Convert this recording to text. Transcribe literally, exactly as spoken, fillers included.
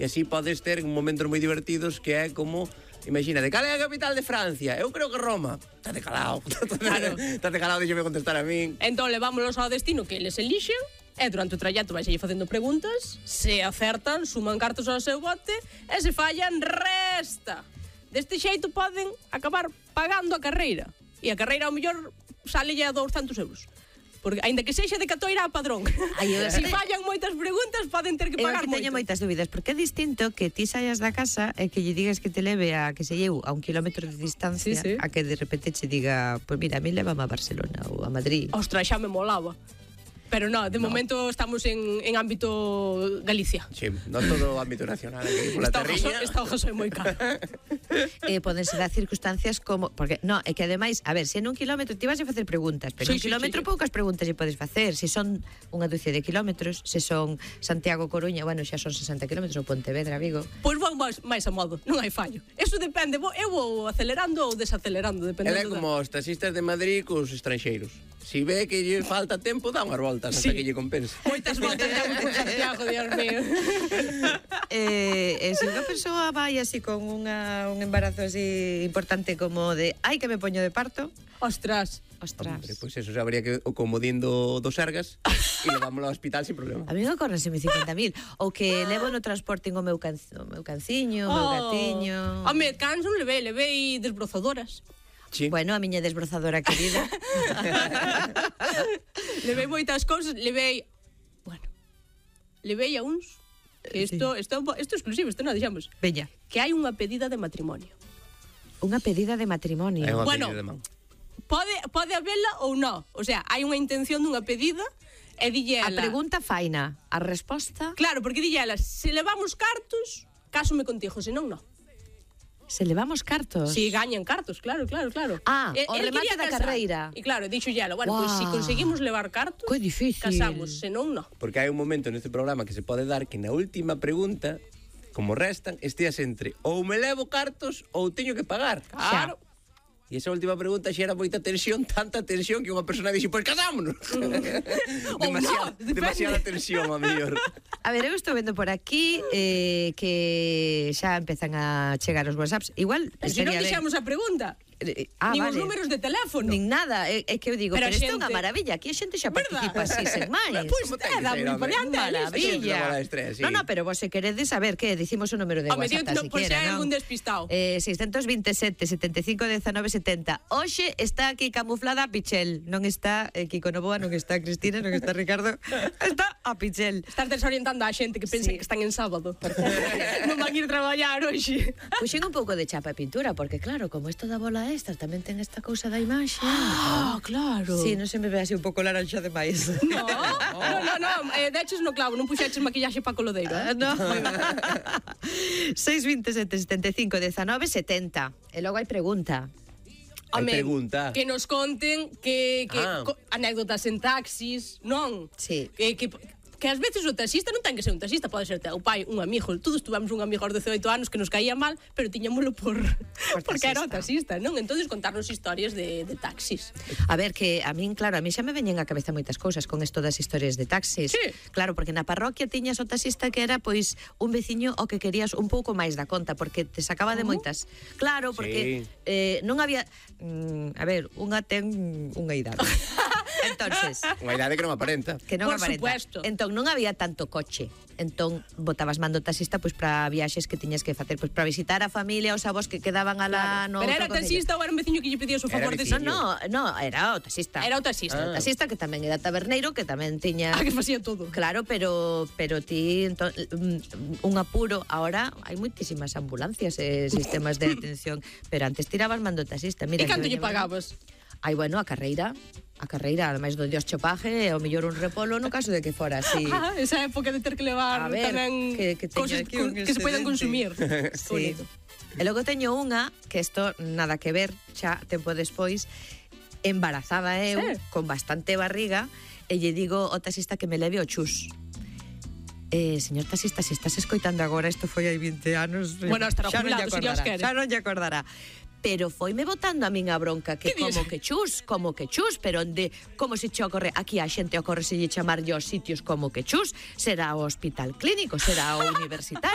E así podes ter momentos moi divertidos que é como... Imagínate, cal é a capital de Francia? Eu creo que Roma. Tate calado. Claro. Tate calado, deixame contestar a min. Entón, levámonos ao destino que eles elixen e durante o trallato vais aí facendo preguntas. Se acertan, suman cartos ao seu bote e se fallan, resta. Deste xeito poden acabar pagando a carreira. E a carreira, ao mellor, sale a douscentos euros. Porque, ainda que sexa de catoira a padrón. Ai, se fallan moitas preguntas, poden ter que pagar moito. Eu teño moitas dúbidas, porque é distinto que ti saias da casa e que lle digas que te leve a, que se eu, a un kilómetro de distancia, sí, sí. A que de repente che diga, pois pues mira, a mí levame a Barcelona ou a Madrid. Ostras, xa me molaba. Pero no, de no. momento estamos en, en ámbito Galicia. Sí, non todo ámbito nacional. Aquí, pola terriña. Esta hoja soy moi cara. eh, Podense dar circunstancias como... Porque, no, é que ademais, a ver, se en un kilómetro ti vas a facer preguntas, pero sí, en un sí, kilómetro sí, poucas preguntas lle podes facer. Se son unha dúcia de kilómetros, se son Santiago-Coruña, bueno, xa son sesenta kilómetros, ou Pontevedra-Vigo. Pois vou máis, máis a modo, non hai fallo. Eso depende, eu vou acelerando ou desacelerando, dependendo. É como os taxistas de Madrid cos estranxeiros. Si ve que lle falta tempo, dá unhas voltas sí. Hasta que lle compense. Moitas voltas damos por Santiago, Dios mío. eh, e se unha persoa vai así con unha, un embarazo así importante como de ai que me poño de parto. Ostras. Ostras. Hombre, pois pues eso, xa habría que o comodín do, do Sergas e levámoslo ao hospital sin problema. A mí me correnseme cincuenta mil. Ou que levo no transporte o meu, can, o meu canciño, o oh. meu gatiño. Home, cans non levei, levei desbrozadoras. Sí. Bueno, a miña desbrozadora querida. Levei moitas cousas, levei, bueno, levei a uns, que isto, sí. isto, isto é exclusivo, isto non dixamos. Veña. Que hai unha pedida de matrimonio. Unha pedida de matrimonio. Hai unha bueno, pedida de man. Pode, pode habela ou non. O sea, hai unha intención dunha pedida e dille ela... A pregunta faina, a resposta... Claro, porque dille ela, se levamos cartos, cásome contigo, senón non. Se levamos cartos? Si, sí, gañan cartos, claro, claro, claro. Ah, e, o remate da casar. Carreira. E claro, dixo ela, bueno, wow. Pois pues, si conseguimos levar cartos, que difícil. Casamos, senón non. Porque hai un momento neste programa que se pode dar que na última pregunta, como restan, estías entre ou me levo cartos ou teño que pagar. Claro. Xa. E esa última pregunta xa era moita tensión, tanta tensión que unha persona dixo, pois casámonos. demasiada, no, demasiada tensión, a mellor. A ver, eu estou vendo por aquí eh, que xa empezan a chegar os WhatsApps. Igual, pero se non dixamos a pregunta. Ah, nin vale. os números de teléfono. Nin nada, é, é que eu digo, pero, pero isto é unha maravilla. Aquí a xente xa participa así, sen máis. Pois pues, é, moi variante. Maravilla. Estrés, sí. No, no, pero vos se queredes saber que dicimos o número de Home, WhatsApp, no, siquiera, pues hai non? algún despistado. Eh, seiscentos veintesete, setenta e cinco, diecinueve, setenta. Hoxe está aquí camuflada a Pichel. Non está eh, Kiko Novoa, non está Cristina, non está Ricardo. Está a Pichel. Estás desorientando a xente que pensa sí. que están en sábado. Non van ir traballar hoxe. Puxen un pouco de chapa e pintura, porque claro, como isto da bola extra tamén ten esta cousa da imaxe. Ah, claro. Sí, non se me ve así un pouco laranxa de máis. No, no, no, no. Eh, deches no clavo, non puxeches maquillaxe pa colodeiro. Eh? Uh, no. seis vinte e sete, setenta e cinco, diecinueve, setenta. E logo hai pregunta. Hai Home, pregunta. Que nos conten que, que ah. co, anécdotas en taxis, non? Sí. Que, que, que ás veces o taxista non ten que ser un taxista, pode ser teu pai, un amigo. Todos tuvemos un amigo aos dezaoito anos que nos caía mal, pero tiñámoslo por, por porque era o taxista, non? Entonces contarnos historias de, de taxis. A ver, que a min, claro, a mí xa me veñen á cabeza moitas cousas con isto das historias de taxis. Sí. Claro, porque na parroquia tiñas o taxista que era, pois, un veciño o que querías un pouco máis da conta, porque te sacaba de moitas. Claro, porque sí. eh, non había... Mm, a ver, unha ten unha idade. Entonces, unha idade que non aparenta. Que non Por aparenta. supuesto. Entón non había tanto coche. Entón botabas mando taxista pois para viaxes que tiñas que facer, pois para visitar a familia, os avós que quedaban alá claro. no. Pero era taxista ou era un veciño que lle pedía o favor de No, no, no, era o taxista. Era o taxista. Ah. O taxista que tamén era taberneiro, que tamén tiña Ah, que facía todo. Claro, pero pero ti entón, un apuro, ahora hai moitísimas ambulancias e eh, sistemas de atención, pero antes tirabas mando taxista. Mira, e canto lle pagabas? Ai, bueno, a carreira, a carreira, ademais do dios chopaje, o mellor un repolo no caso de que fora así. Ah, esa época de ter que levar a ver, tamén que, que cosas aquí un que se poden consumir. Sí. E logo teño unha, que isto nada que ver, xa tempo despois, embarazada eu, sí. Con bastante barriga, e lle digo ao taxista que me leve o chus. Eh, señor taxista, se estás escoitando agora, isto foi hai vinte anos. Bueno, estará jubilado, se Dios quere. Xa non lle acordará. Pero foime botando a min a bronca que como que chus, como que chus, pero onde, como se che ocorre, aquí a xente ocorre se lle chamar aos sitios como que chus, será o hospital clínico, será o universitario.